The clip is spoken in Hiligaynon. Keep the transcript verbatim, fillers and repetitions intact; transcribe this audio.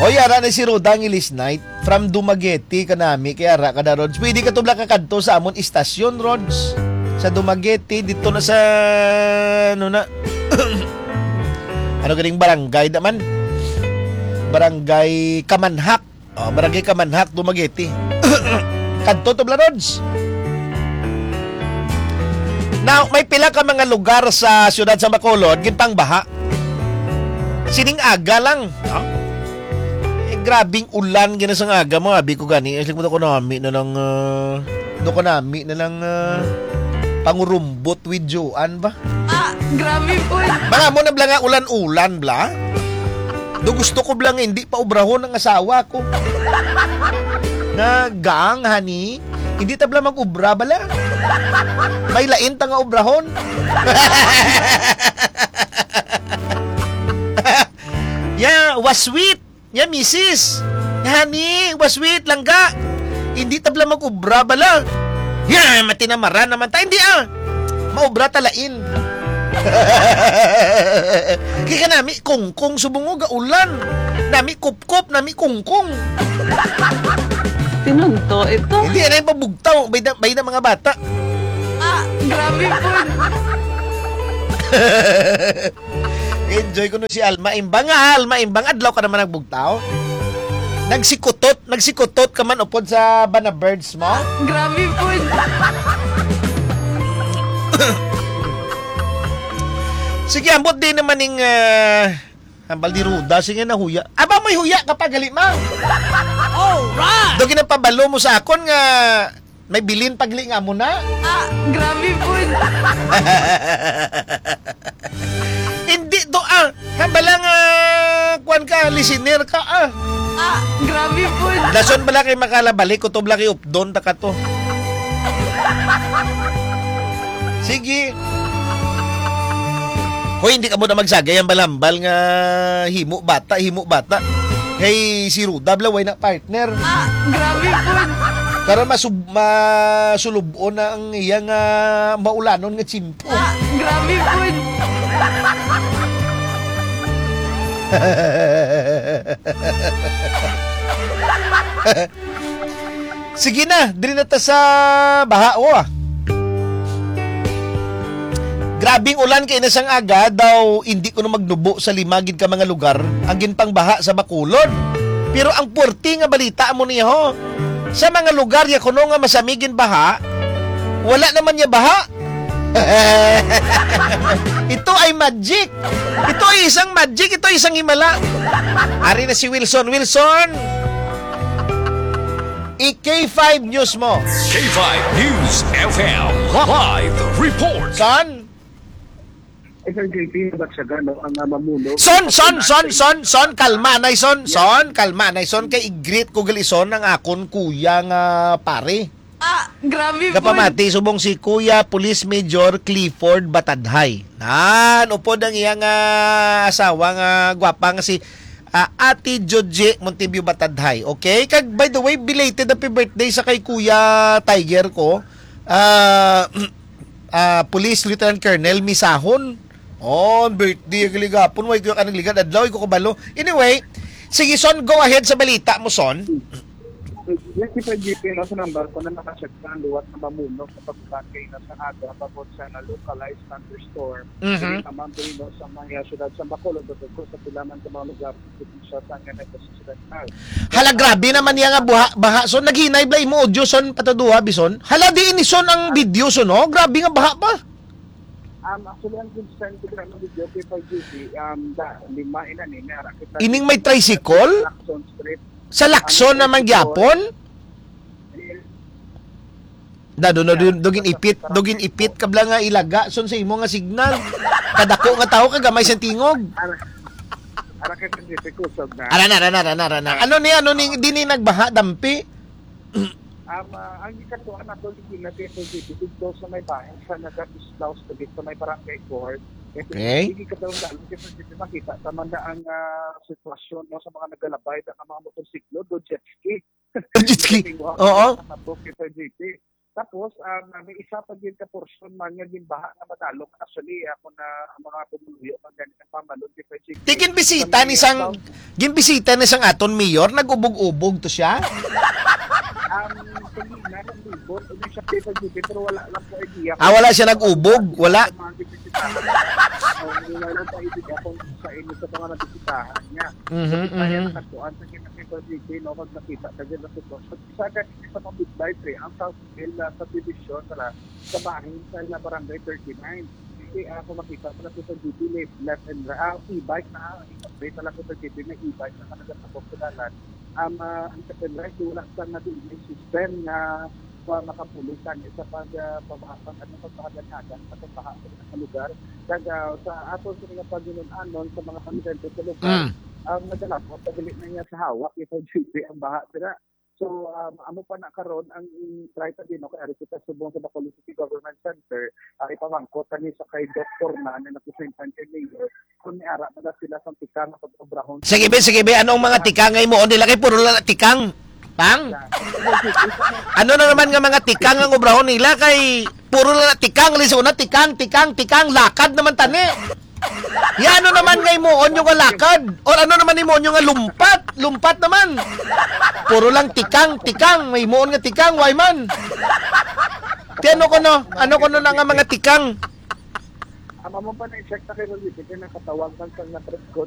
Oy, ara na si Roda ang Ilis Night. From Dumaguete kanami, kay ara ka na, Rods. Pwede ka tubla ka kadto sa amon istasyon, Rods. Sa Dumaguete, dito na sa, ano na, ano ganing barangay naman? Barangay Kamanhak. Oh, Barangay Kamanhak, Dumaguete. Kadto tubla, Rods. Now, may pila ka mga lugar sa siyudad sa Bacolod, ginpangbaha. Sining aga lang. Ha? Eh, grabing ulan gina sang aga mo, abi ko gani. Ay, siguro ko nami na lang, ah, do ko nami na lang, ah, pangurumbot with Joan ba? Ah, grabe po. Mga mo na bla nga ulan-ulan bla. Do gusto ko bla nga hindi pa obrahon ang asawa ko. Nga, gang, honey, hindi ta bla mag-ubra bala. May lain ta nga obrahon. Yeah, was sweet. Ya, misis. Ya, honey, was wait, langga. Hindi tabla mag-ubra bala. Ya, matinamaran naman ta. Hindi, ah. Maubra ta lain. Kaya nami kungkong subong nga ulan. Nami kupkop, nami kungkong. Tinunto ito. Hindi, ano yung pabugtaw? Bayda, bayda mga bata. Ah, grabe po. Enjoy ko no si Alma Imbang. Ah, Alma Imbang, adlaw ka naman nagbugtaw. Nagsikutot, nagsikutot ka man upod sa bana birds mo. Grabe po. Sige, ambot din naman ning, ah, hambal ni Ruda. Sige na, huya. Aba, may huya ka pa, gali, ma. Alright. Do ginapabalo mo sa akon nga may bilin pagli nga mo na? Ah, grabe po. Hindi to, ah. Hambala nga, kuwan ka, listener ka, ah. Ah, grabe po. Dason bala kay makalabalik, kutob lang kay updon ta ka to. Sige. Hoy, hindi ka mo na magsagay ang balambal nga himo bata, himo bata. Kay si Ruda, bla, way na partner. Ah, grabe po. Karon masub-, masulubon na ang iyang, ah, maulanon nga tsimpo. Ah, grabe po. Sige na, diri na ta sa baha, oh, ah. Grabing ulan kay na sang aga daw, hindi kuno magnubo sa lima gid ka mga lugar ang ginpangbaha sa Bacolod. Pero ang puwerte nga balita mo niya, ho, sa mga lugar ya kuno nga masami ginbaha, wala naman niya baha. Ito ay magic. Ito ay isang magic. Ito ay isang himala. Ari na si Wilson. Wilson! I K five News mo. K five News F M live report. Son? Eh, Sir J P, nabatyagan, no, ang, ah, mamuno. Son, son, son, son, son, kalma, nay, son, son, kalma, nay, son, kay i-greet ko gali, son, ang akon kuya nga pare. Ah, grabe po. Kapamati, subong si Kuya Police Major Clifford Batadhay. Nan, upod ang iyang, ah, asawa nga gwapa nga si, ah, Ate Joji Montebio Batadhay. Okay? Kag, by the way, belated happy birthday sa kay Kuya Tiger ko. Ah, ah, Police Lieutenant Colonel Misahon. Oh, birthday ang ligapon. Way ko ka nagligad adlaw, way ko kabalo. Anyway, sige, son, go ahead sa balita mo, son. Yes, si Fred G P, no, sa number ko na nakacheck na ang liwat na mamuno sa pagkakay na sa aga, bangod sa na localized thunderstorm. Mhm. Dili lamang diri, no, sa mga siyudad sa Bacolod, but of course, sa pila man ka mga lugar sa probinsya sa nga nagkasasudad na. Hala, grabe naman niya nga buha, baha. So, naghinay bla imo audio, son, pataduha, bison. Hala, di ini, son, ang video, son, no? Grabe nga baha pa. Um, actually, ang concern ko sa video kay Fred G P, um, da, lima ina ni, may arakit na Ining may tricycle? Lacson Street. Sa Lacson Ang naman tricycle. Gyapon? Dado na dun, dugin ipit, dugin ipit ka bla nga ilaga son sa imo nga signal. Kadako nga tawo ka gamay sa tingog. Ara, ara kay Pacific, kusog na. Ara na, ara na, ara na, ara na. Ano ni, ano ni, di ni nagbaha, dampi? Um, ah, ang gikatuan nato, di na kay Pacific, dito sa may bahin, sa nagkatislaw sa gitna may barangay court. Okay. Hindi ka daw lalo kasi hindi makita. Tama na ang, ah, sitwasyon, no, sa mga naglalabay, ang mga motorsiklo, do jet ski. Jet ski. Oo. Ang mga book, Sir J P. Tapos, ah, may isa pa gyud ka portion man nga ginbaha nga madalok. Actually, ako na ang mga pumuluyo man gani ang pamalon kay Fred J P. Tikin bisita ni sang, Gimbisita na sang aton mayor, nag-ubog-ubog to siya. Ang kanina, naglibot. Ano siya, Tito G P, pero wala lang po idea. Ah, wala siya nag-ubog? Wala? Ang mga gibisitahan. Ang wala lang sa idea kung sa inyo sa mga nabisitahan niya. Mhm, Kaya mhm. nagkuhan sa kina Tito G P, no, pag nakita sa gina sitwasyon. Sa akin, sa mga midwifery, ang South Hill na subdivision sa, sa bahin sa La Barangay thirty-nine. Kasi ako makita mo na sa G P, left and right, ah, e-bike na, update na lang ko sa G P, may e-bike na ka nagatapok sa dalan. Ang, ah, ang second right, wala sa nga D N A system nga pa makapulisan sa pag ah, pabahatan ano pagpahagan-hagan sa pagbaha sa lugar. Kag ah, sa ato sa mga paghinun-anon sa mga residente sa lugar, Mm. ang nagalabot, dili na niya sa hawak ito G P ang baha sila. So, um, amo pa na karon ang try ta din, no, kay ari kita subong sa Bacolod City Government Center, ah, ipamangkot tani sa kay doktor na na nakusintan kay Mayor kung may ara pa na sila sa tikang nga pag-obrahon. Sige be, sige be, anong mga tikang nga himuon nila kay puro lang tikang? Pang? Ano na naman nga mga tikang ang obrahon nila kay puro lang tikang, lisod na tikang, tikang, tikang, lakad naman tani. Ya, ano naman nga himuon nyo nga lakad? Or ano naman himuon nyo nga lumpat? Lumpat naman. Puro lang tikang, tikang, may himuon nga tikang, why man? Ti ano ko no? Ano ko no na nga mga tikang? Ang amo pa na i-check na kay Rolly, kaya nakatawag man sa nga press con